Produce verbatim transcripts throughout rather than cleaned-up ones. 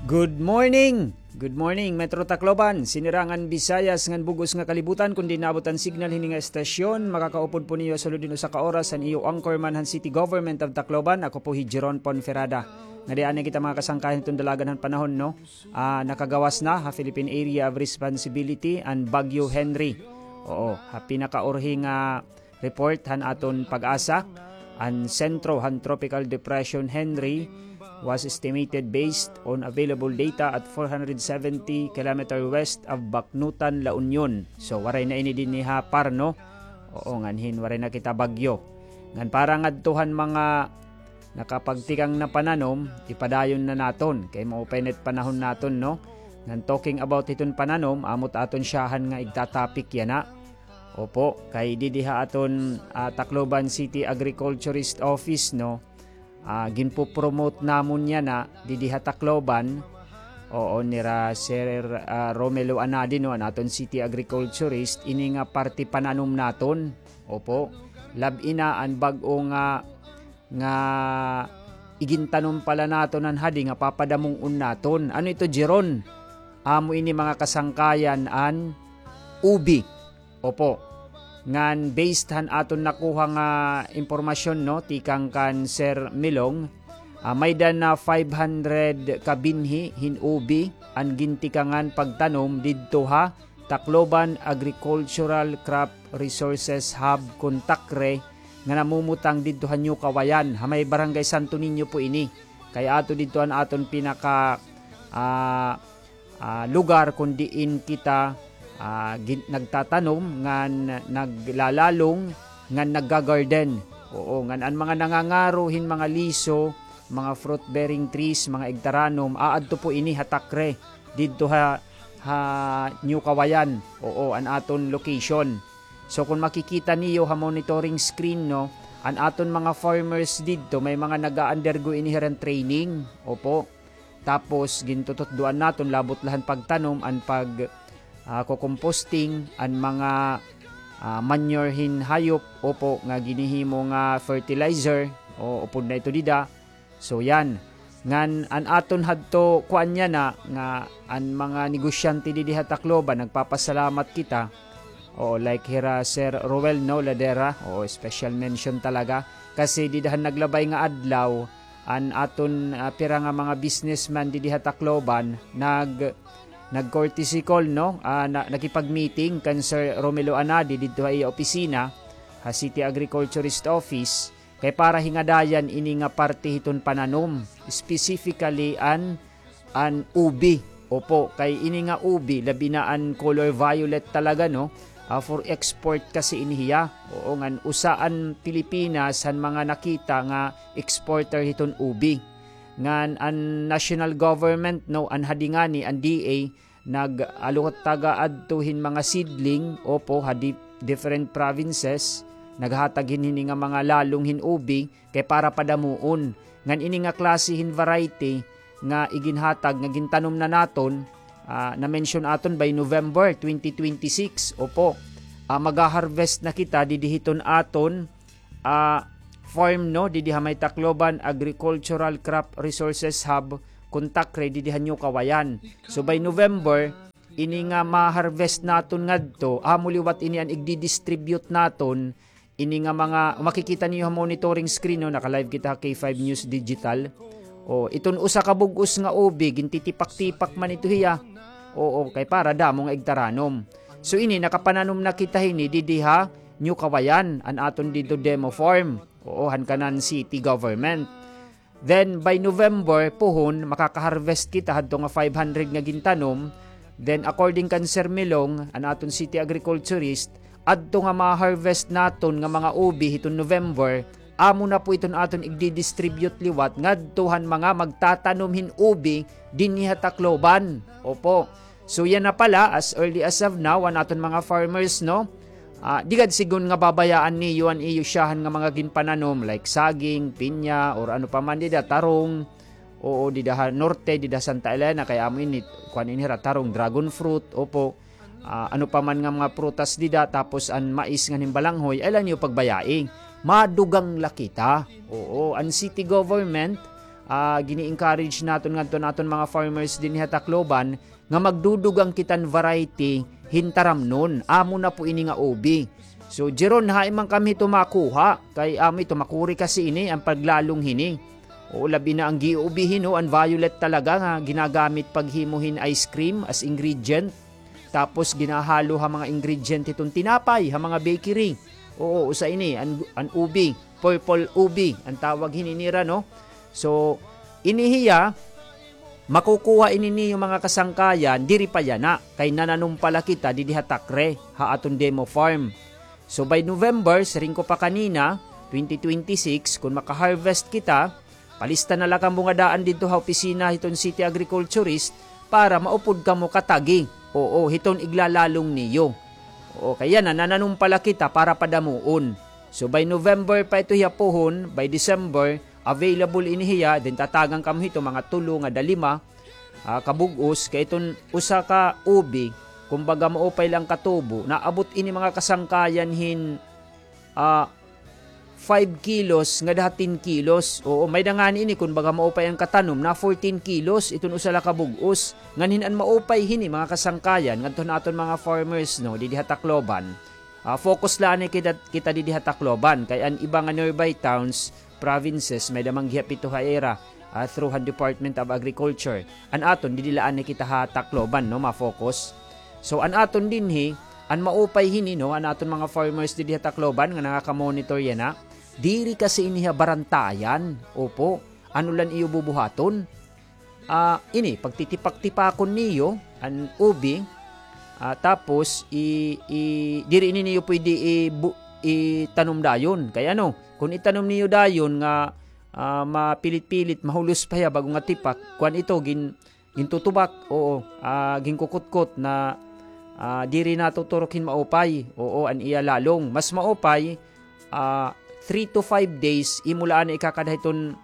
Good morning! Good morning, Metro Tacloban, Sinirangan Visayas ngan bug-os nga kalibutan. Kon diin naabot an signal hini nga estasyon, makakaupod po niyo ha sulod hin usa ka oras an iyo anchorman han City Government of Tacloban. Ako po hi Jeron Ponferrada. Ngadi anay kita, mga kasangkayan, hiton dalagan han panahon, no? Ah, nakagawas na ha Philippine Area of Responsibility an Bagyo Henri. Oo, ha pinakaurhi nga report han aton PAGASA, an sentro han Tropical Depression Henri was estimated based on available data at four hundred seventy kilometer west of Baknotan, La Union. So, waray na ini dinhi ha Parno. Oo, ngan hin waray na kita bagyo. Ngan para ngadto han mga nakapagtikang na pananom, ipadayon na naton kay maupay na it panahon naton, no? Ngan talking about hiton pananom, amo it aton syahan nga igta-topic yana. Opo, kay didi ha aton, ah, Tacloban City Agriculturist Office, no? Ah, ginpo-promote namon yana didi ha Tacloban. Oo, nira Sir, ah, Romelo Anadi, no, an aton city agriculturist, ini nga parte pananom naton. Opo, lab-i na an bag-o nga, nga igintanom pala naton han hadi nga papadamong-on naton. Ano ito, Jeron? Amo ini, mga kasangkayan, an ubi. Opo. Ngan based han aton nakuha nga impormasyon, no, tikang kan Sir Milong, ah, may-ada na five hundred ka binhi hin ubi an gintikangan pagtanom didto ha Tacloban Agricultural Crop Resources Hub kon TACRRE nga namumutang didto ha New Kawayan, ha may Barangay Santo Niño po ini. Kay ato didto an aton pinaka, ah, ah, lugar kon diin kita, ah, gin-, nagtatanom ngan naglalalong ngan nagga-garden. Oo, ngan an mga nangangaro hin mga liso, mga fruit-bearing trees, mga igtaranom, aadto po ini ha TACRRE, didto ha, ha New Kawayan. Oo, an aton location. So, kon makikita niyo ha monitoring screen, no, an aton mga farmers didto, may mga nag-a-undergo ini hiran training. Opo. Tapos, gintututdoan naton, labot la han pagtanom, an pag, ah, ko-composting, an mga, ah, manure hin hayop, opo, nga ginhihimo nga fertilizer, o upod na ito dida. So, yan. Ngan, an aton hadto, kuan yana, nga an mga negosyante didi ha Tacloban, nagpapasalamat kita. Oo, like hira Sir Roel, no, Ladera. Oo, special mention talaga. Kasi dida han naglabay nga adlaw, an aton, ah, pira nga mga businessman didi ha Tacloban, nag-, nag-courtesy call, no? Ah, na-, nakipag-meeting kan Sir Romelo Anadi didto ha iya opisina, ha City Agriculturist Office, kay para hingadayan ini nga parte hiton pananom, specifically an, an ubi. Opo, kay ini nga ubi, labi na an color violet talaga, no? Ah, for export kasi ini hiya. Oo, ngan usa an Pilipinas han mga nakita nga exporter hiton ubi. Ngan an national government, no, an hadi ngani, an D A, nag-alokataga adto hin mga seedling, opo, ha di-, different provinces, naghatag hin hini nga mga lalong hin ubi, kay para padamuon. Ngan ini nga klase hin variety nga iginhatag, nga gintanom na naton, ah, na-mention aton by November twenty twenty-six, opo. Ah, maga-harvest na kita didi hiton aton, ah, farm, no, didi ha may Tacloban Agricultural Crop Resources Hub, kon TACRRE, didi ha New Kawayan. So, by November, ini nga ma-harvest naton ngadto, amo liwat ini an igdi-distribute naton, ini nga mga, makikita niyo ha monitoring screen, no, naka-live kita ha K five News Digital. O, iton usa ka bug-os nga ubi, gintitipak-tipak man ito hiya. Oo, kay para damo nga igtaranom. So, ini, nakapananom na kita hini didi ha New Kawayan, an aton didto demo farm. Oo, han kanan city government. Then, by November, puhon, makaka-harvest kita hadto nga five hundred nga gintanom. Then, according kan Sir Milong, an aton city agriculturist, adto nga ma-harvest naton nga mga ubi hiton November, amo na po iton aton igdi-distribute liwat ngadto han mga magtatanom hin ubi dinhi ha Tacloban. Opo. So, yana pala, as early as of now, an aton mga farmers, no? Ah, di gad sigon nga babayaan niyo an iyo syahan nga mga ginpananom, like saging, pinya, or ano pa man dida, tarong. Oo, dida ha norte, dida Santa Elena, kay amo ini, kuan ini hira, tarong, dragon fruit, opo. Ah, ano pa man nga mga prutas dida, tapos an mais ngan hin balanghoy, ay la niyo pagbayai. Madugang la kita. Oo, an city government, ah, gini-encourage naton ngadto an aton mga farmers dinhi ha Tacloban nga magdudugang kita hin variety hin taramnon. Amo na po ini nga ubi. So, Jeron, hain man kami hito makuha? Kay amo ito, makuri kasi ini, an paglalong hini. Oo, labi na an giuubi hin, o, an violet talaga nga ginagamit paghimo hin ice cream as ingredient. Tapos ginahalo ha mga ingredient hiton tinapay, ha mga bakery. Oo, usa ini, an, an ubi, purple ubi, an tawag hini nira, no? So, ini hiya, makukuha ini niyo mga kasangkayan, diri pa yana, kay nananom pa la kita didi ha Tacre, ha aton demo farm. So, by November, siring ko pa kanina, twenty twenty-six, kun maka-harvest kita, palista na la kamo nga daan didto ha opisina hiton city agriculturist para maupod kamo katagi. Oo, hiton iglalalong niyo. Oo, kay yana, nananom pa la kita para padamuon. So, by November pa ito hiya puhon, by December, available ini hiya, then tatagan kamo hito mga tulo ngada lima, ah, ka bug-os, kay iton usa ka ubi, kumbaga maupay la an katubo, naabot ini mga kasangkayan hin, ah, five kilos ngada ha ten kilos. Oo, may-ada ngani ini, kumbaga maupay an katanom, na fourteen kilos iton usa la ka bug-os. Ngan hin an maupay hini, mga kasangkayan, ngadto han aton mga farmers, no, didi ha Tacloban. Ah, focus la anay kita, kita didi ha Tacloban, kay an iba nga nearby towns, provinces, may-ada man gihap ito ha ira, ah, through han Department of Agriculture. An aton, didi la anay kita ha Tacloban, no, ma-focus. So, an aton dinhi, an maupay hini, no, an aton mga farmers didi ha Tacloban nga nangaka-monitor yana, diri kasi ini ha barantayan. Opo, ano la an iyo bubuhaton? Ah, ini, pagtitipak-tipakon niyo an ubi, ah, tapos i, i, diri ini niyo pwede i, bu, itanom dayon. Kay ano, kun itanom niyo dayon nga, ah, mapilit-pilit, mahulos pa hiya bago nga tipak, kuan ito, gin, gintutubak, oo, ah, ginkukutkot na, ah, diri natuturok hin maupay, oo, an iya lalong. Mas maupay, ah, three to five days, imo la anay ikakada hiton,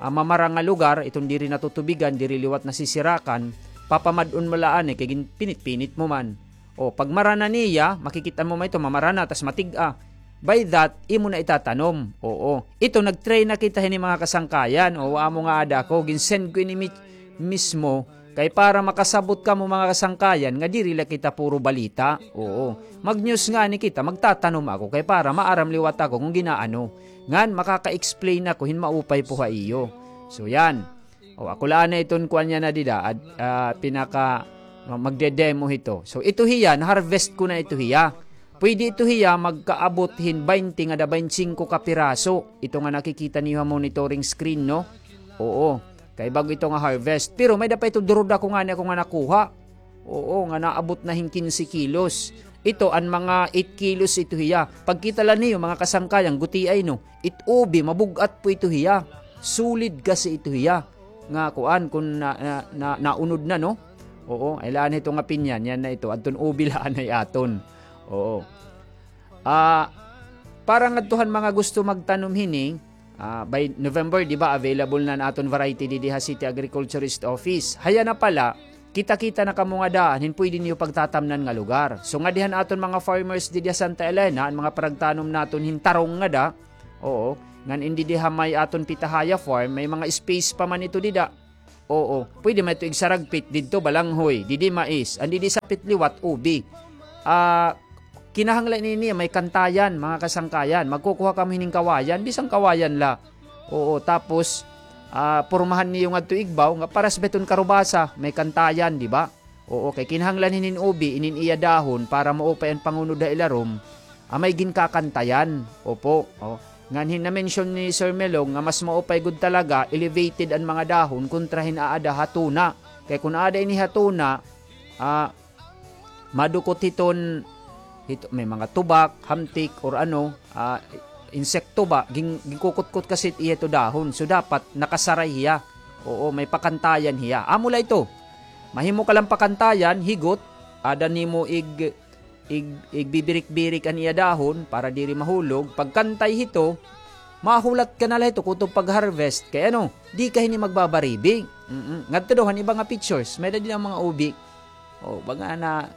ah, mamara nga lugar, iton diri natutubigan, diri liwat nasisirakan, papamad-on mo la anay, kay ginpinit-pinit mo man. O, pag mara na niya, makikita mo man ito, mamara na, tas matig-a. By that, imo na itatanom. Oo. Ito, nag-try na kita hini mga kasangkayan. O, amo nga ada ako, gin-send ko ini mi-, mismo, kay para makasabot kamo mga kasangkayan nga diri la kita puro balita. Oo. Mag-news ngani kita, magtatanom ako kay para maaram liwat ako kon gin-aano. Ngan makaka-explain ako hin maupay po ha iyo. So yan. O, ako la anay iton kuan yana dida, ad, ah, pinaka, ma, magde-demo hito. So ito hiya, na-harvest ko na ito hiya. Pwede ito hiya magkaabot hin baynte ngada baynte singko ka piraso. Ito nga nakikita niyo ha monitoring screen, no? Oo. Kay bag-o ito nga harvest. Pero may-ada pa ito durudako ngani ako nga nakuha. Oo, nga naabot na hin kinse kilos. Ito, an mga eight kilos ito hiya. Pagkita la niyo, mga kasangkayan, gutiay, no? It ubi, mabug-at po ito hiya. Solid kasi ito hiya. Nga, kuan, kun na, na, na, naunod na, no? Oo, ay laan ito nga pinyan, yan na ito. Adton ubi la anay aton. Oo. Ah, para ngadto han mga gusto magtanom hini, ah, by November, di ba, available na an aton variety didi ha City Agriculturist Office. Haya na pala, kita-kita na kamo nga daan hin pwede niyo pagtatamnan nga lugar. So, ngadi han aton mga farmers didi ha Santa Elena, an mga paragtanom naton hin tarong ngada, oo, ngan in didi ha may aton pitahaya farm, may mga space pa man ito dida. Oo, pwede man ito igsaragpit didto, balanghoy, didi mais, an didi sapit liwat, ubi. Ah, kinahanglan ini may kantayan, mga kasangkayan. Magkukuha kamo hinin kawayan, bisan kawayan la. Oo, tapos, ah, pormahan niyo ngadto igbaw, nga paras ba iton karubasa, may kantayan, di ba? Oo, kay kinahanglan hinin ubi, inin iya dahon, para maupay an pangunod ha ilarom, ah, may ginkakantayan. Opo, o. Ngan hin na-mention ni Sir Melong nga mas maupay gud talaga, elevated an mga dahon kontra hin aada ha tuna. Kay kun aada ini ha tuna, ah, madukot hiton, hito, may mga tubak, hamtik, or ano, ah, insekto ba, gin-, ginkukutkot kasi iya ito dahon. So, dapat nakasaray hiya. Oo, may pakantayan hiya. Amo la ito. Mahimo ka lang pakantayan, higot, aada nimo ig-, ig-, igbibirik-birik an iya dahon para diri mahulog. Pagkantay hito, mahulat ka na la hito kutob pag-harvest. Kay ano, di ka hini magbabaribing. Mm-mm. Ngadto daw han iba nga pictures, may-ada dida mga ubi. O, baga na,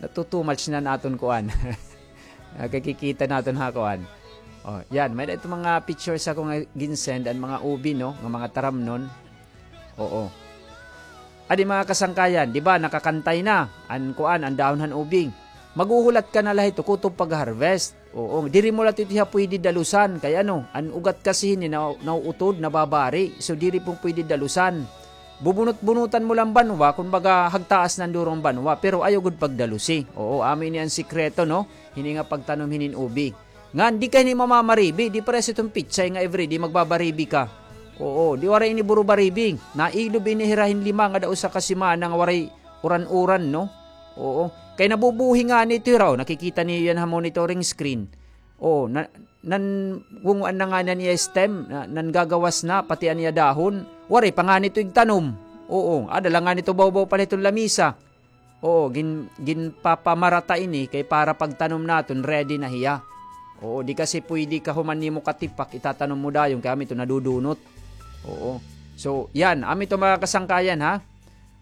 natu-too much na an aton kuan. Nakikita naton ha kuan. Oh, yan. May da ito mga pictures ako nga ginsend, an mga ubi, no? Nga mga taramnon. Oo. Adi, mga kasangkayan, di ba, nakakantay na an kuan, an dahon han ubing. Maghuhulat ka na la hito kutob pag-harvest. Oo, diri mo la ito hiya pwede dalusan. Kay ano, an ugat kasi hini na, nauutod, nababari. So, diri po pwede dalusan. Bubunot-bunutan mo lang banwa, kun baga hagtaas na an duro han banwa, pero ayaw gud pagdalusi. Oo, amo ini an sikreto, no? Hini nga pagtanom hinin ubi. Ngan di ka hini mamamaribi, di parehas iton pitsay nga everyday magbabaribi ka. Oo, di waray ini buro baribi. Nailob ini hira hin lima ngada usa ka semana nga waray uran-uran, no? Oo. Kay nabubuhi ngani ito hira, o, nakikita niyo yan ha monitoring screen. Oo, na, nangunguan na ngani an iya stem, na, nanggagawas na, pati an iya dahon. Waray pa ngani ito igtanom. Oo, ada la ngani ito bawbaw pa la hiton lamisa. Oo, gin-, ginpapamarata ini kay para pagtanom naton, ready na hiya. Oo, di kasi pwede ka human nimo katipak, itatanom mo dayon kay amo ito nadudunot. Oo. So, yan, amo ito, mga kasangkayan, ha.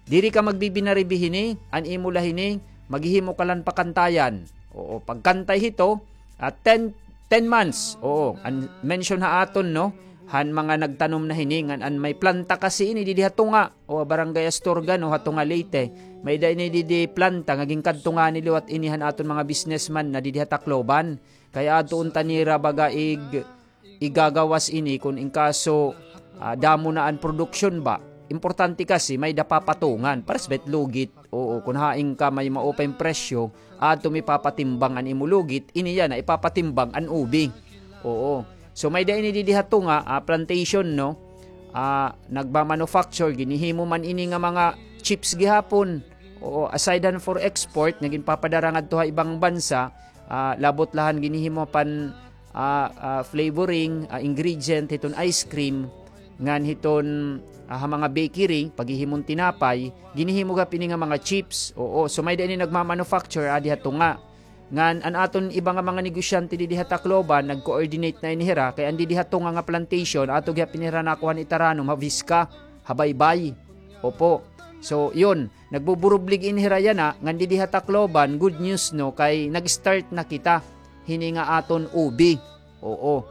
Diri ka magbibinaribi hini, an imo la hini, maghihimo ka la hin pakantayan. Oo, pagkantay hito, ah, ten, ten months. Oo, an mention ha aton, no, han mga nagtanom na hini, ngan an may planta kasi ini didi ha tunga, o Barangay Astorga, no, ha tunga Leyte. May-ada ini didi planta nga ginkadto ngani liwat ini han aton mga businessman na didi ha Tacloban. Kay adto unta nira baga ig-, igagawas ini kun in kaso, ah, damo na an produksyon ba. Importante kasi may-ada papatungan. Pares ba it lugit? Oo, kun hain ka may maupay nga presyo, adto mo ipapatimbang an imo lugit, ini yana ipapatimbang an ubi. Oo. So, may-ada ini didi ha tunga, ah, plantation, no? Ah, nagmamanufacture, ginhihimo man ini nga mga chips gihapon. Oo, aside han for export, nga ginpapadara ngadto ha ibang bansa, ah, labot la han ginhihimo pan, ah, ah, flavoring, ah, ingredient hiton ice cream, ngan hiton, ah, ha mga bakery, paghihimon tinapay, ginhihimo gihap ini nga mga chips. Oo, so may-ada ini nagmamanufacture, adi ha tunga. Ngan an aton iba nga mga negosyante didi ha Tacloban, nag-coordinate na ini hira, kay an didi ha tunga nga plantation, ato gihap ini hira nakuha han itaranom ha Visca, ha Baybay. Opo. So, yun, nagbuburublig ini hira yana, ngan didi ha Tacloban, good news, no, kay nag-start na kita hini nga aton ubi. Oo.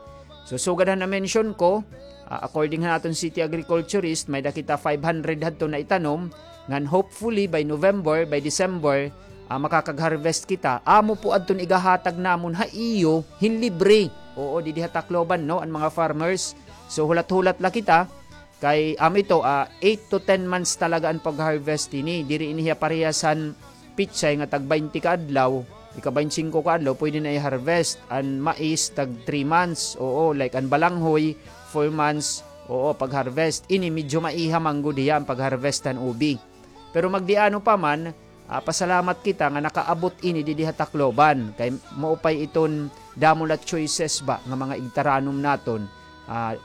So, sugad han na-mention ko, ah, according han aton city agriculturist, may-ada kita five hundred hadto na itanom, ngan hopefully by November, by December, ah, makakag-harvest kita. Amo po adton igahatag namon ha iyo hin libre. Oo, didi ha Tacloban, no, an mga farmers. So, hulat-hulat la kita. Kay amo ito, ah, eight to ten months talaga an pag-harvest ini. Diri ini hiya parehas han pitsay nga tag baynte ka adlaw, ika-baynte singko ka adlaw, pwede na i-harvest. An mais, tag three months, oo, like an balanghoy, four months, oo, pag-harvest. Ini medyo maiha man gud hiya an pag-harvest han ubi. Pero magdiano pa man, ah, pasalamat kita nga nakaabot ini didi ha Tacloban. Kay maupay iton damo la choices ba nga mga igtaranom naton. Ah,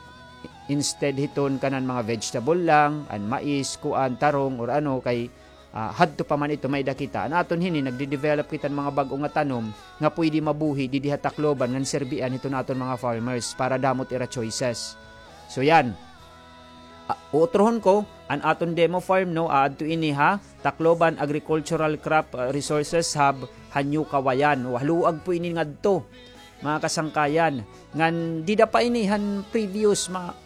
instead hiton kanan mga vegetable lang, an mais, kuan, tarong, or ano, kay, ah, hadto pa man ito may-ada kita. An aton hini, nagde-develop kita hin mga bag-o nga tanom nga pwede mabuhi didi ha Tacloban ngan serbian hiton aton mga farmers para damo it ira choices. So, yan. Ah, utrohon ko, an aton demo farm, no, aadto ini ha Tacloban Agricultural Crop, ah, Resources Hub, ha New Kawayan. O, haluag po ini ngadto, mga kasangkayan. Ngan dida pa ini han previous mga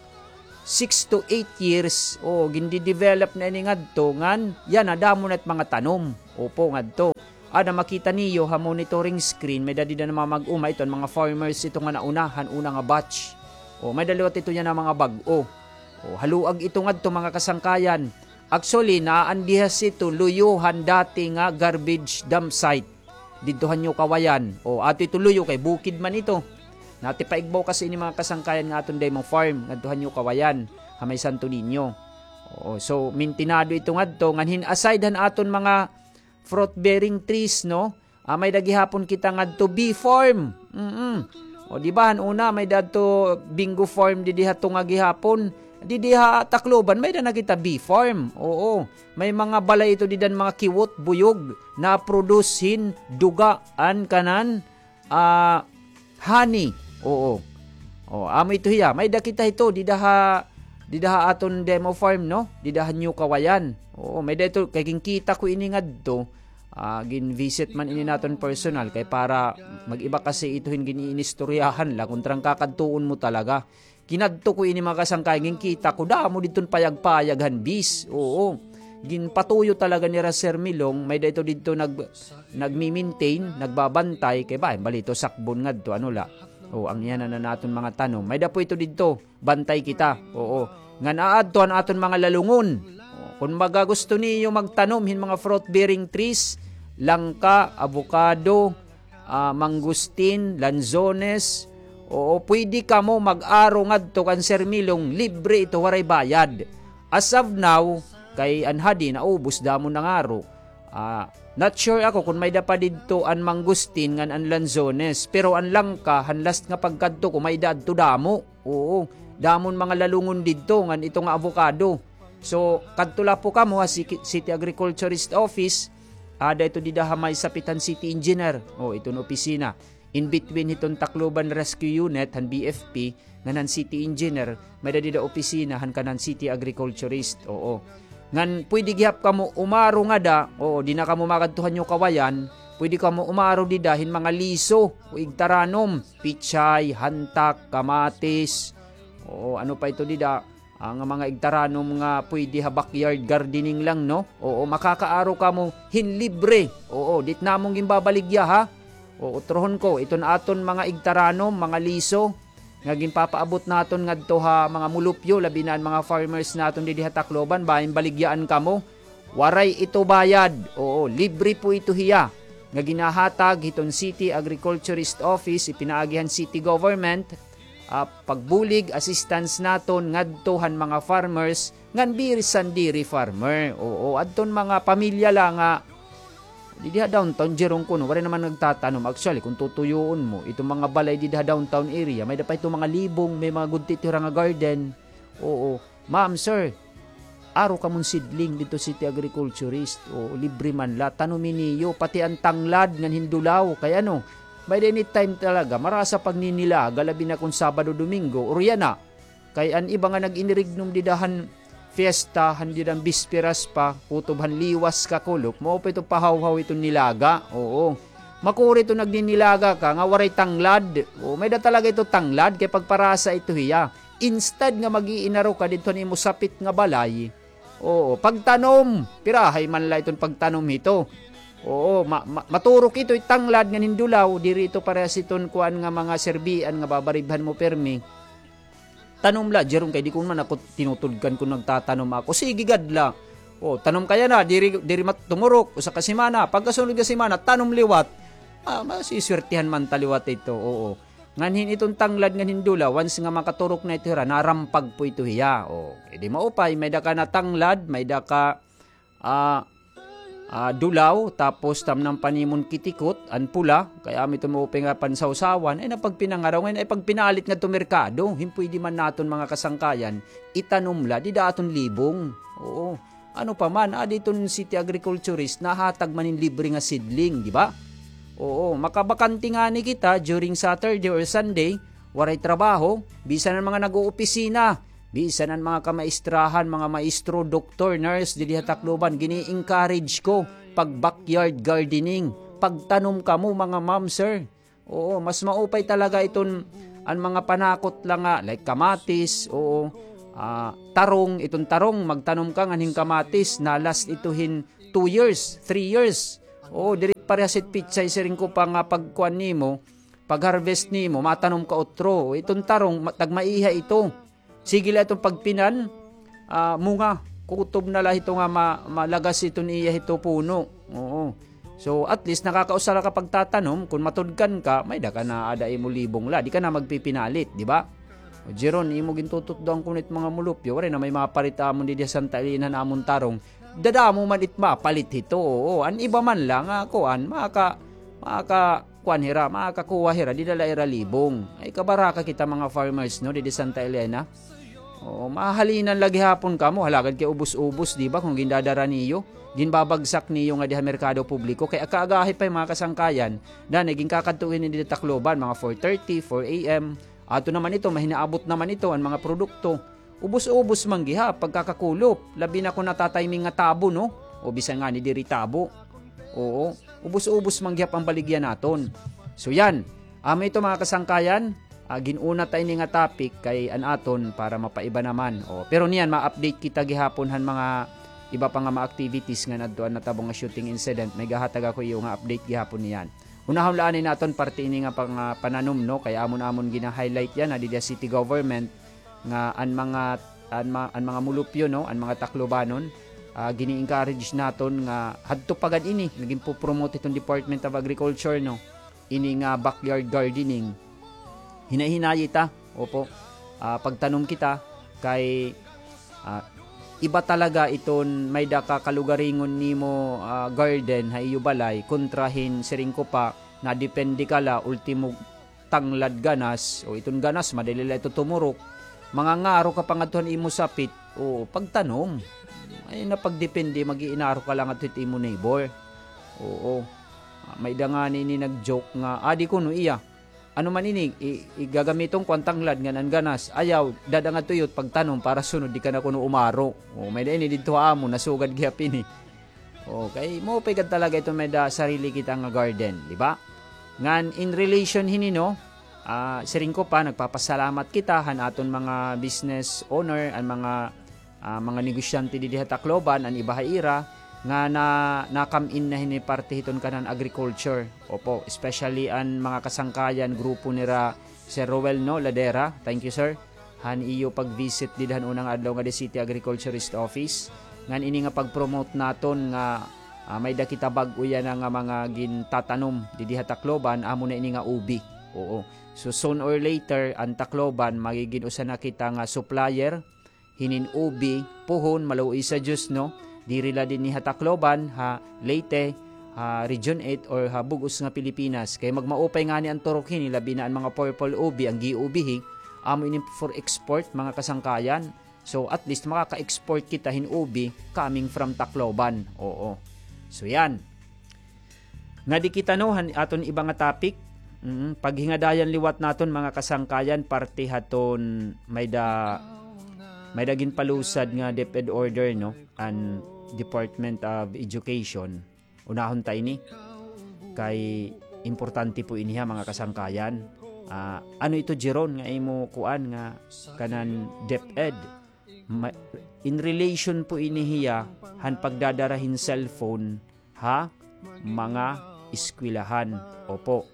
six to eight years, o, gindi-develop na ini ngadto, ngan yana, damo na it mga tanom. Opo, ngadto. Ada makita niyo ha monitoring screen, may-ada dida nga mga mag-o, ito an mga farmers ito nga nauna, han una nga batch. O, may-ada liwat ito yana mga bag-o. O, haluag ito ngadto, mga kasangkayan. Actually, naa an dihas ito luyo han dati nga garbage dump site didto ha New Kawayan. O, ato ito luyo kay bukid man ito. Natipaigbaw kasi ini, mga kasangkayan, nga aton demo farm ngadto ha New Kawayan, ha may Santo Niño. Oo, so, mintinado ito ngadto, ngan hin aside han aton mga fruit-bearing trees, no? Ah, may-ada gihapon kita ngadto bee farm. Mm-mm. O, di ba, han una, may-ada adto bingo farm didi ha tunga gihapon. Didi ha Tacloban, may-ada na kita bee farm. Oo. May mga balay ito dida han mga kiwot, buyog, na-produce hin duga an kanan, ah, honey. Oo. O, amo ito hiya. May-ada kita hito dida ha, dida ha aton demo farm, no? Dida ha New Kawayan. Oo, may-ada ito, kay ginkita ko ini ngadto. Ah, gin-visit man ini naton personal, kay para mag-iba kasi ito hin gin-iinistoryahan la, kontra an kakadtuon mo talaga. Kinadto ko ini, mga kasangkayan, ginkita ko, damo didton payag-payag han bis. Oo. Ginpatuyo talaga nira Sir Milong, may-ada ito didto nag-, nagmi-maintain, nagbabantay, kay ba, bali ito sakbon ngadto, ano la. O, an iya na naton mga tanom. May-ada po ito didto. Bantay kita. Oo. Ngan aadto an aton mga lalungon. O, kun baga gusto niyo magtanom hin mga fruit-bearing trees, langka, avocado, ah, mangustin, lanzones, oo, pwede kamo mag-aro ngadto kan Sir Milong, libre ito, waray bayad. As of now, kay an hadi naubos, damo nangaro. Ah, not sure ako kun may-ada pa didto an mangustin ngan an lanzones, pero an langka, han last nga pagkadto ko, may-ada adto damo. Oo, damo an mga lalungon didto, ngan ito nga avocado. So, kadto la po kamo ha City, City Agriculturist Office, ada ito dida ha may sapit han City Engineer. O, ito an opisina. In between hiton Tacloban Rescue Unit, han B F P, ngan han City Engineer, may-ada dida opisina han kanan City Agriculturist. Oo. Ngan pwede gihap kamo umaro ngada, oo, di na kamo makadto han iyo kawayan, pwede kamo umaro dida hin mga liso o igtaranom, pichay, hantak, kamatis, oo, ano pa ito dida, ah, nga mga igtaranom nga pwede ha backyard gardening lang, no? Oo, makakaaro kamo hin libre. Oo, di it namon ginbabaligya, ha? Oo, trohon ko, iton aton mga igtaranom, mga liso, nga ginpapaabot naton ngadto ha mga mulupyo, labi na an mga farmers naton didi ha Tacloban, bangin baligyaan kamo. Waray ito bayad. Oo, libre po ito hiya. Nga ginahatag hiton City Agriculturist Office, ipinaagi han City Government, ah, pagbulig, assistance naton ngadto han mga farmers, ngan bisan diri farmer. Oo, adton mga pamilya la nga didi ha downtown, Jerome, kuno, waray naman nagtatanom. Actually, kung tutuyoon mo, itong mga balay didi ha downtown area, may-ada pa ito mga libong, may mga gudti ito hira nga garden. Oo. Ma'am, sir, aro kamon seedling didto City Agriculturist. Oo, libre man la. Tanumi niyo, pati an tanglad ngan hindulaw. Kay ano, may-ada ini time talaga, marasa pagninnilaga, labi na kung Sabado, Domingo, or yana. Kay an iba nga nag-inirignom dida han fiesta, han dida han bisperas pa, kutob han liwas kakulop, mao pa ito pahawhaw iton nilaga. Oo. Makuri ito nagninnilaga ka nga waray tanglad. Oo, may-ada talaga ito tanglad, kay pagparasa ito hiya. Instead nga mag-iinaro ka didto han imo sapit nga balay. Oo, pagtanom, pirahay man la iton pagtanom hito. Oo, ma-, ma-, maturok ito, itanglad ngan hindulaw, diri ito parehas iton kuan nga mga serbian nga babaribhan mo pirmi. Tanom la, Jerome, kay di ko man ako tinutudkan kun nagtatanom ako. Sige gad la. O, tanom ka yana, diri, diri mat-, tumurok, usa ka semana, pagkasunod nga semana, tanom liwat. Ah, masiswertihan man ta liwat ito, oo. Ngan hin iton tanglad ngan hindulaw, once nga makaturok na ito hira, narampag po ito hiya. O, edi maupay, may-ada ka na tanglad, may-ada ka ah, ah, dulaw, tapos tamnam pa nimon kitikot, an pula, kay amo ito maupay nga pansawsawan, ay napagpinangaraw, ngay-an ay pagpinalit ngadto merkado, hin pwede man naton mga kasangkayan, itanom la, dida ha aton libong. Oo. Ano pa man, adi iton City Agriculturist, nahatag man hin libre nga seedling, di ba? Oo, makabakante ngani kita during Saturday or Sunday, waray trabaho, bisan an mga nag-oopisina, bisan an mga kamaistrahan, mga maestro, doktor, nurse, didi ha Tacloban, gini-encourage ko pag-backyard gardening. Pagtanom kamo, mga ma'am, sir. Oo, mas maupay talaga iton, an mga panakot la nga, like kamatis, oo, ah, tarong, iton tarong, magtanom ka ngan hin kamatis, na-last ito hin two years, three years. Oo, diri parehas it pitsay, siring ko pa nga pagkuan nimo, pag-harvest nimo, matanom ka utro. Iton tarong, ma-, tagmaiha ito. Sige la iton pagpinan, ah, munga, kutob na la hito nga ma-, malagas iton iya hito puno. Oo. So, at least, nakakausa la ka pagtatanom, kun matudkan ka, may-ada ka na ada imo libong la, di ka na magpipinalit, di ba? O, Jeron, imo gintututdoan kuno it mga mulupyo, waray na may maparit amon didi ha Santa Elena han amon tarong. Dadamo man it mapalit hito, oo. An iba man la nga kuan, maka-, maka-, kuan hira, makakakuha hira, dida la ha ira libong. Ay, kabaraka kita mga farmers, no, didi Santa Elena. Oo, mahalinan la gihapon kamo, halagad kay ubos-ubos, di ba, kun gindadara niyo, ginbabagsak niyo ngadi ha merkado publiko, kay aga-agahi pa, mga kasangkayan, danay ginkakadto hini dida Tacloban, mga four thirty, four A M. Ato naman ito, mahinaabot naman ito, an mga produkto. Ubos-ubos man gihap pagkakakulop, labi na kun natatiming nga tabo, no? O bisan ngani diri tabo. Oo, ubos-ubos man gihap an baligya naton. So yan, amo ito, mga kasangkayan, ah, gin-una ta ini nga topic kay an aton para mapaiba naman. O, pero niyan, ma-update kita gihapon han mga iba pa nga mga activities nga nadto an natabo nga shooting incident. May gahatag ako iyo nga update gihapon niyan. Unahon la anay naton parte ini nga pang, ah, pananom, no? Kay amon-amon gina-highlight yana dida city government nga an mga, an ma-, an mga mulupyo, no, an mga Taclobanon, ah, gini-encourage naton nga hadto pa gad ini, nagin-po-promote iton Department of Agriculture, no, ini nga backyard gardening. Hinay-hinayi ta, opo, ah, pagtanom kita kay, ah, iba talaga iton may-ada ka kalugaringon nimo, ah, garden ha iyo balay kontra hin siring ko pa, nadepende ka la, ultimo tanglad ganas, o iton ganas, madali la ito tumurok. Mangangaro ka pa ngadto han imo sapit, o pagtanom. Ay, napagdepende, mag-iinaro ka la ngadto hit imo neighbor. Oo. Ah, may-ada ngani ini nag-joke nga, adi kuno iya. Ano man ini, i-, igagamiton ko an tanglad ngan an ganas. Ayaw, dad-a ngadto iyo hit pagtanom para sunod di ka na kuno umaro. O, may-ada ini didto ha amon, nasugad gihap ini. O, kay maupay gad talaga iton may-ada sarili kita nga garden, di ba? Ngan in relation hini, no, ah, siring ko pa, nagpapasalamat kita han aton mga business owner, an mga, ah, mga negosyante didi ha Tacloban, an iba ha ira, nga na, nakam-in na hini parte hiton kanan agriculture. Opo, especially an mga kasangkayan, grupo nira Sir Roel, no, Ladera. Thank you, sir. Han iyo pag-visit dida han una nga adlaw ngada City Agriculturist Office. Ngan ini nga pag-promote naton nga, ah, may-ada kita bag-o yana nga mga gintatanom didi ha Tacloban, amo na ini nga ubi. Oo. So, soon or later, an Tacloban, magigin usa na kita nga supplier hinin ubi, puhon, maluoy sa Diyos, no? Diri la dinhi ha Tacloban, ha Leyte, ha Region eight, or ha bug-os nga Pilipinas. Kay magmaupay ngani an turok hini, labi na an mga purple ubi, an giubihi, amo ini for export, mga kasangkayan. So, at least, makaka-export kita hin ubi coming from Tacloban. Oo. So, yan. Ngadi kita, no, han aton iba nga topic. Mm, paghingadayan liwat naton, mga kasangkayan, parte haton may-ada, may-ada ginpalusad nga DepEd order, no, an Department of Education. Unahon ta ini. Kay importante po ini ha, mga kasangkayan. Ah, ano ito, Jeron, nga imo kuan nga kanan DepEd? Ma-, in relation po ini hiya han pagdadara hin cellphone ha mga eskwelahan. Opo.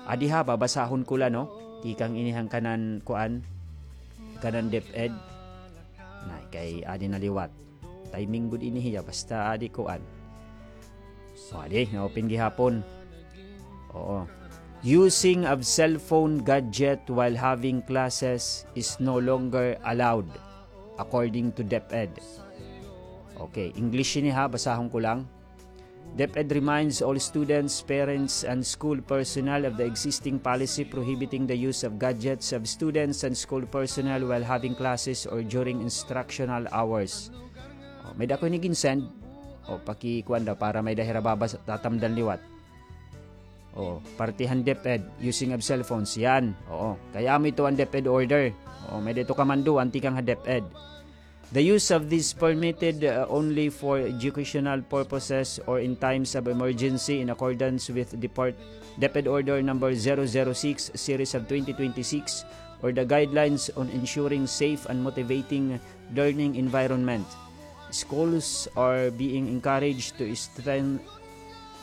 Adi ha, babasahon ko la, no? Tikang ini han kanan kuan, kanan DepEd. Nay, kay adi na liwat. Timing gud ini hiya, basta adi kuan. O, adi, na-open gihapon. Oo. Using of cellphone gadget while having classes is no longer allowed, according to DepEd. Okay, English ini ha, basahon ko lang. DepEd reminds all students, parents, and school personnel of the existing policy prohibiting the use of gadgets of students and school personnel while having classes or during instructional hours. O, may-ada ko ini gin-send. O, pakikuan daw para may-ada hira babas-, tatamdan liwat. O, parte han DepEd, using of cell phones, yan. Oo, kay amo ito an DepEd order. O, may-ada ito kamanduan tikang ha DepEd. The use of this permitted, uh, only for educational purposes or in times of emergency in accordance with Depart-, DepEd Order Number zero zero six, Series of twenty twenty-six, or the guidelines on ensuring safe and motivating learning environment. Schools are being encouraged to strengthen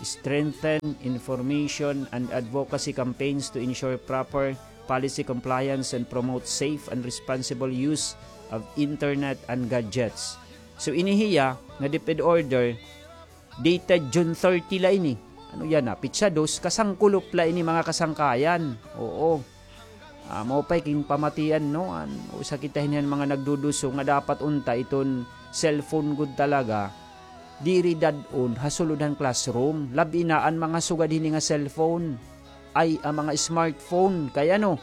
strengthen information and advocacy campaigns to ensure proper policy compliance and promote safe and responsible use of internet and gadgets. So, ini hiya nga DepEd order, dated June thirty la ini. Ano yana? Pitsa dos, kasangkulop la ini, mga kasangkayan. Oo. Ah, mao pa'y ginpamatian, no? An, usa kita hini han mga nagduduso nga dapat unta iton cellphone gud talaga, diri dad-on ha sulod han classroom. Labi na an mga sugad hini nga cellphone. Ay, an mga smartphone. Kay ano,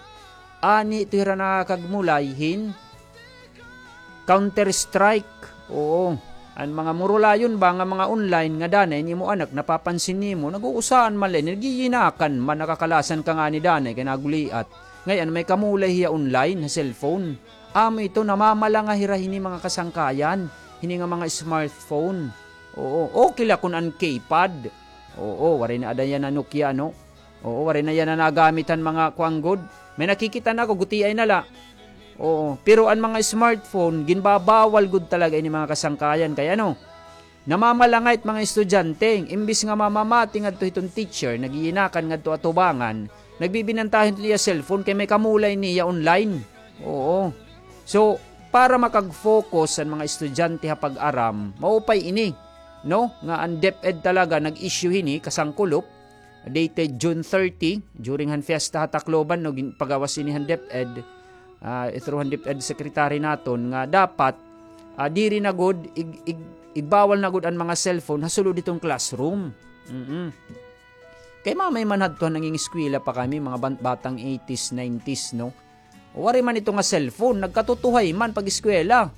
ani ito hira nakakagmulay hin Counter-Strike. Oo. An mga murulayon ba nga mga online nga danay an imo anak napapansin nimo, nag-uusahan man la ini, nagyiyinakan man, nakakalasan ka ngani danay kay naguliat. Ngay-an may kamulay hiya online ha cellphone. Amo ito, namamalanga hira hini, mga kasangkayan, hini nga mga smartphone. Oo, okay la kun an keypad. Oo, waray na ada yana Nokia, no? Oo, waray na yana nagamit han mga kuan gud. May nakikita na ako, gutiay na la. Oo, pero an mga smartphone, ginbabawal gud talaga ini mga kasangkayan. Kay ano, namamalangay it mga estudyante, imbis nga mamamati ngadto hiton teacher, nag-iinakan ngadto atubangan, nagbibinantahan hiton iya cellphone kay may kamulay niya online. Oo. So, para makag-focus an mga estudyante ha pag-aram, maupay ini, no? Nga an DepEd talaga nag-issue hini, kasangkulop, dated June thirty, during han fiesta ha Tacloban, no, gin-, pagawas ini han DepEd, ah, through han DepEd secretary naton, nga dapat, ah, diri na gud, ig-, ig-, igbawal na gud an mga cellphone ha sulod hiton classroom. Mm-mm. Kay mamay man hadto nangingeskwela pa kami, mga ban-, batang eighties, nineties, no? Waray man ito nga cellphone, nagkatutuhay man pag-eskwela.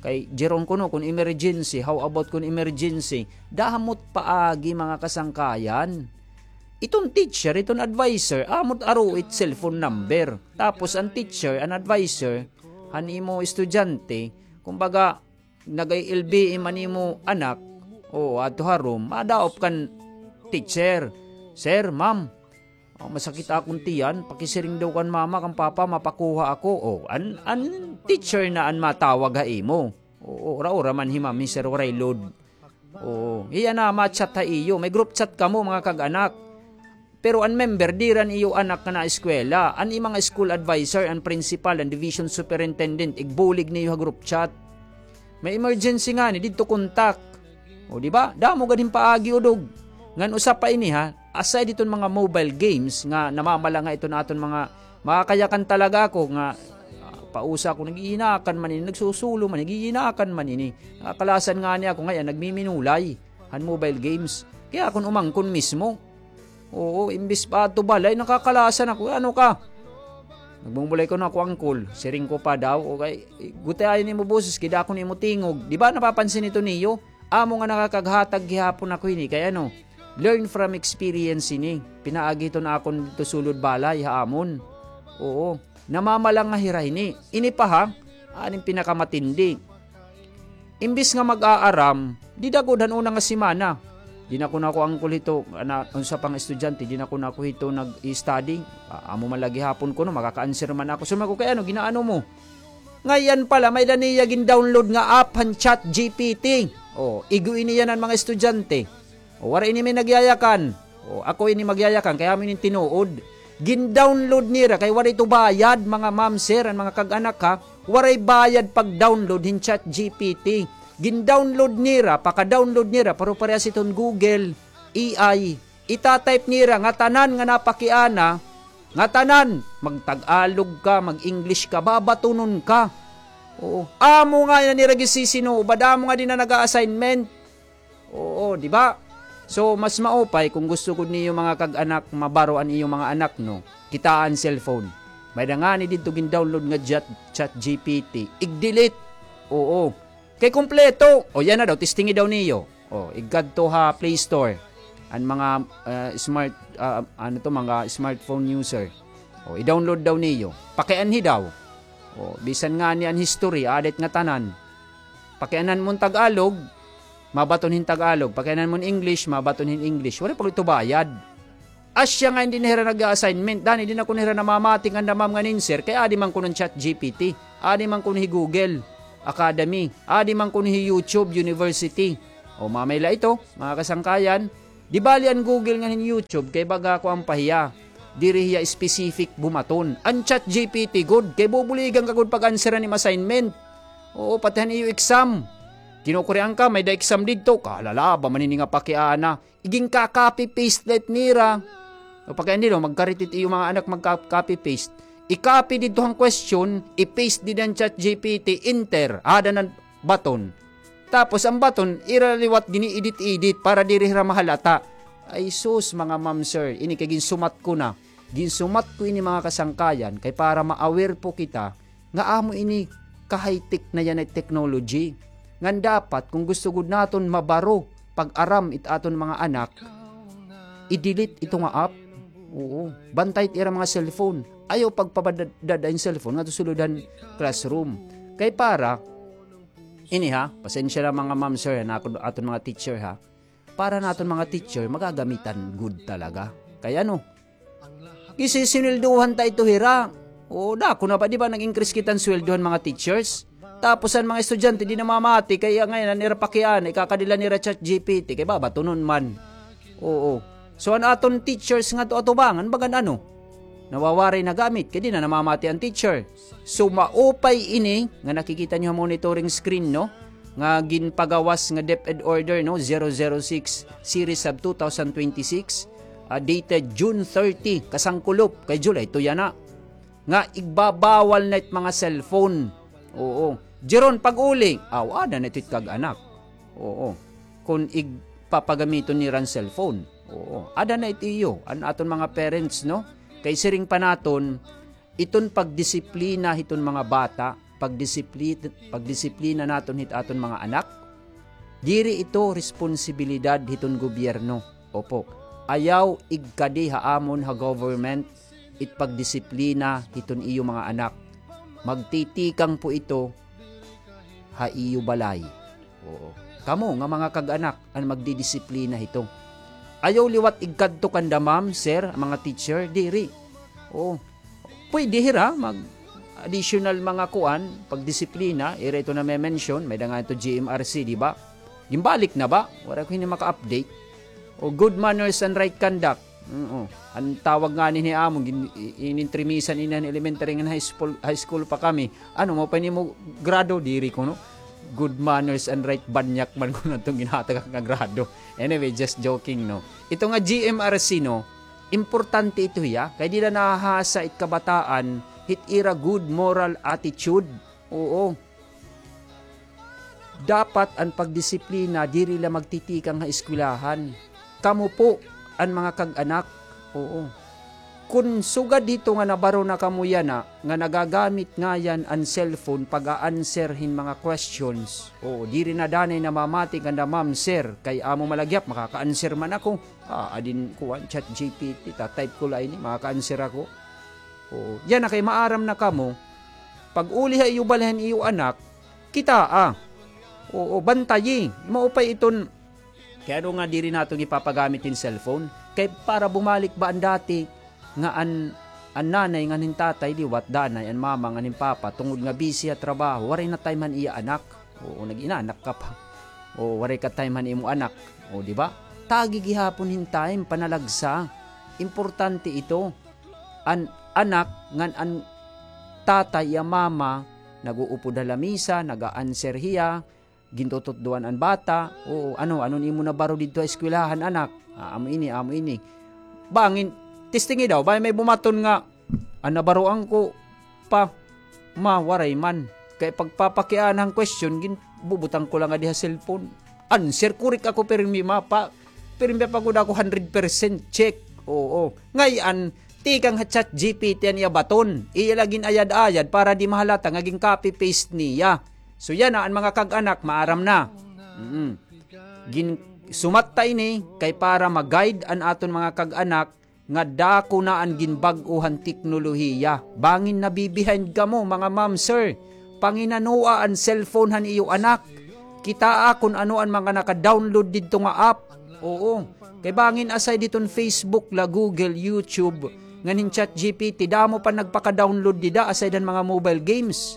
Kay, Jeron, kuno, kun emergency, how about kun emergency? Damo it paagi, mga kasangkayan. Iton teacher, iton adviser, amo it aro it cellphone number. Tapos, an teacher, an adviser, han imo estudyante, kumbaga, nag-I L B M an imo anak, o, adto ha room, madaop kan teacher, "Sir, ma'am, o, masakit akon tiyan, pakisiring daw kan mama, kan papa, mapakuha ako." O, an, an teacher na an matawag ha imo. O, ura-ura man hi ma'am, hi sir, waray load. O, hiya na ma-chat ha iyo. May group chat kamo, mga kag-anak. Pero an member, diri an iyo anak nga naeskwela. An imo nga school adviser, an principal, an division superintendent, igbulig niyo ha group chat. May emergency ngani, didto kontak. O, di ba? Damo gad hin paagi, udog. Ngan usa pa ini, ha, aside hiton mga mobile games nga namamalangay iton aton mga, makakayakan talaga ako nga, ah, pausa ako, nag-iinakan man ini, nagsusulo man, nag-iinakan man ini. Nakakalasan ngani ako ngay-an, nagmiminulay han mobile games. Kay akon umangkon mismo. Oo, imbis pa adto balay, nakakalasan ako. "Ano ka?" Nagbumulay kuno ako, "Angkol, siring ko pa daw, okay, gutiay an imo boses, kay dako an imo tingog." Di ba napapansin ito niyo? Amo nga nakakaghatag gihapon ako hini, kay ano, learn from experience ini. Pinaagi ito na akon didto sulod balay, ha amon. Oo. Namamalangay hira hini. Ini pa ha, an pinakamatiindi. Imbis nga mag-aaram, dida gud han una nga semana. Di na kuno ako angkol hito, ana, unsa pa nga estudyante, di na kuno ako hito nag-study. Ah, amo man la gihapon kuno, makaka-answer man ako. Sumako kay ano, ginaano mo? Ngay-an pala, may-ada niya gin-download nga app han ChatGPT. O, igo ini yana han mga estudyante. O, waray ini may nagyayakan. O, ako ini magyayakan, kay amo ini tinuod. Gin-download nira, kay waray ito bayad, mga ma'am, sir, an mga kag-anak, ha. Waray bayad pag-download hin ChatGPT. Gin-download nira, paka-download nira, pero parehas iton Google, A I. Ita-type nira ngatanan nga napakiana, ngatanan, mag-Tagalog ka, mag-English ka, babatunon ka. Oo. Amo nga yana nira ginsisinubad, amo nga dinhi na nag-a-assignment. Oo, di ba? So, mas maupay kon gusto gud niyo mga kag-anak, mabaro an iyo mga anak, no? Kitaa an cellphone. May-ada ngani didto gin-download nga chat, ChatGPT. Ig-delete. Oo. Kay kompleto. O, yana daw, testingi daw niyo. O, igkadto ha Play Store. An mga, ah, smart, ah, ano to, mga smartphone user. O, i-download daw niyo. Pakianhi daw. O, bisan ngani an history, aada it ngatanan. Pakianhan mo an Tagalog, mabaton hin Tagalog. Pakianhan mo an English, mabaton hin English. Waray pa gud ito bayad. Asya nga dinhi hira nag-a-assignment. Dani, diri na kuno hira namamati nganda ma'am ngan hin sir, kay adi man kuno an ChatGPT, adi man kuno hi Google Academy, adi man kuno hi YouTube University. O, mamay la ito, mga kasangkayan. Di bali an Google ngan hin YouTube, kay baga kuan pa hiya. Diri hiya specific bumaton. An ChatGPT gud, kay bubuligan ka gud pag-answer han imo assignment. Oo, pati han iyo exam. Kinukurian ka, may-ada exam didto. Kahalala ba man ini nga pakiana. Igin-copy-paste la it nira. O, pakianhi daw, magkarit it iyo mga anak magka-copy-paste. I-copy didto han question, i-paste dida han ChatGPT, enter, aada na an button. Tapos an button, ira liwat gini-edit-edit para diri hira mahalata. Ay sus, mga ma'am, sir, ini kay ginsumat ko na. Ginsumat ko ini, mga kasangkayan, kay para ma-aware po kita nga amo ini ka-high-tech na yana it technology. Ngan dapat, kon gusto gud naton mabaro pag-aram it aton mga anak, i-delete ito nga app. Oo. Bantay it ira mga cellphone. Ayaw pagpabadada an cellphone ngadto sulod han classroom. Kay para, ini ha, pasensya na mga ma'am, sir, han akon, aton mga teacher ha. para naton mga teacher, magagamitan gud talaga. Kay ano, gisisinweldohan ta ito hira. O, dako na ba, di ba, nag-increase kita hin sweldo han mga teachers? Tapos an mga estudyante, di namamati, kay ngay-an, an ira pakiana, ikakadi la nira ChatGPT, kay babatunon man. Oo. So, an aton teachers ngadto atubangan, bagan ano? Nawawaray na gamit, kay di na namamati an teacher. So, maupay ini nga nakikita niyo ha monitoring screen, no? Nga ginpagawas nga DepEd Order, no? Zero zero six series of two thousand twenty-six, ah, dated June thirty, kasangkulop, kay July two yana. Nga igbabawal na it mga cellphone. Oo. Jeron, pag-uli, aw, ada na it kag-anak. Oo. Kun igpapagamiton nira an cellphone. Oo. Ada na it iyo, an aton mga parents, no? Kay siring pa naton, iton pagdisiplina hiton mga bata, pagdisipli-, pagdisiplina naton hit aton mga anak, diri ito responsibilidad hiton gobyerno. Opo. Ayaw igkadi ha amon ha government it pagdisiplina hiton iyo mga anak. Magtitikang po ito ha iyo balay. Oo. Kamo nga mga kag-anak an magdidisiplina hito. Ayaw liwat igkadto kanda ma'am, sir, mga teacher, diri. Oo. Pwede hira mag additional mga kuan, pagdisiplina, ira ito na-mention, may da nga ito G M R C, di ba? Gimbalik na ba? Wala ko hini maka-update. O good manners and right conduct. Oo. An tawag ngani ni amon, gin-, i-, inintrimisan ini han elementary ngan high school, high school pa kami. Ano, maupay nimo grado, diri kuno. Good manners and right banyak man kuno iton ginhatag nga grado. Anyway, just joking, no. Ito nga G M R C, no, importante ito hiya, kay dida nahahasa it kabataan hit ira good moral attitude. Oo. Dapat an pagdisiplina diri la magtitikang ha eskwelahan. Kamo po an mga kag-anak. Oo. Kun sugad hito nga nabaro na kamo yana, nga nagagamit ngayan an cellphone pag-a-answer hin mga questions. Oo, diri na danay namamati kanda ma'am, sir, kay amo man la gihap, makaka-answer man ako. Ah, adin kuan, ChatGPT, ta-type ko la ini, makaka-answer ako. Oo, yana kay maaram na kamo. Pag-uli ha iyo balay han iyo anak, kitaa. Oo, bantayi. Maupay iton, kay ano nga diri naton ipapagamit hin cellphone? Kay para bumalik ba an dati nga an, an nanay ngan hin tatay liwat, danay an mama ngan hin papa, tungod nga busy ha trabaho, waray na time han iya anak. Oo, nag-inanak ka pa. Oo, waray ka time han imo anak. O, di ba? Tagi gihapon hin time, panalagsa. Importante ito. An anak ngan an tatay, iya mama, nag-uupod ha lamisa, nag-a-answer hiya, gintututdoan an bata. Oo, ano, ano an imo nabaro didto ha eskwelahan, anak? Ah, amo ini, amo ini. Bangin, testingi daw, bangin may bumaton nga, an nabaroan ko, pa, ma, waray man. Kay pagpapakiana han question, ginbubutang ko la ngadi ha cellphone. Answer, correct ako, pirmi, ma, pa, pirmi pa gud ako hundred percent check. Oo. Ngay-an, tikang ha ChatGPT an iya baton. Iya la gin-ayad-ayad para di mahalata nga gin-copy-paste niya. So, yana an mga kag-anak, maaram na. Mm. Gin-, sumat ta ini kay para ma-guide an aton mga kag-anak nga dako na an ginbag-o han teknolohiya. Bangin nabi-behind kamo, mga ma'am, sir. Panginanoa an cellphone han iyo anak. Kitaa kun ano an mga naka-download didto nga app. Oo. Kay bangin aside hiton Facebook la, Google, YouTube, ngan hin ChatGPT, damo pa nagpaka-download dida aside han mga mobile games.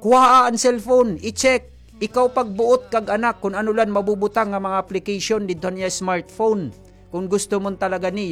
Kuhaa an cellphone, i-check. Ikaw pagbuot, kag-anak, kun ano la an mabubutang nga mga application didto han iya smartphone. Kun gusto mo talaga niyo,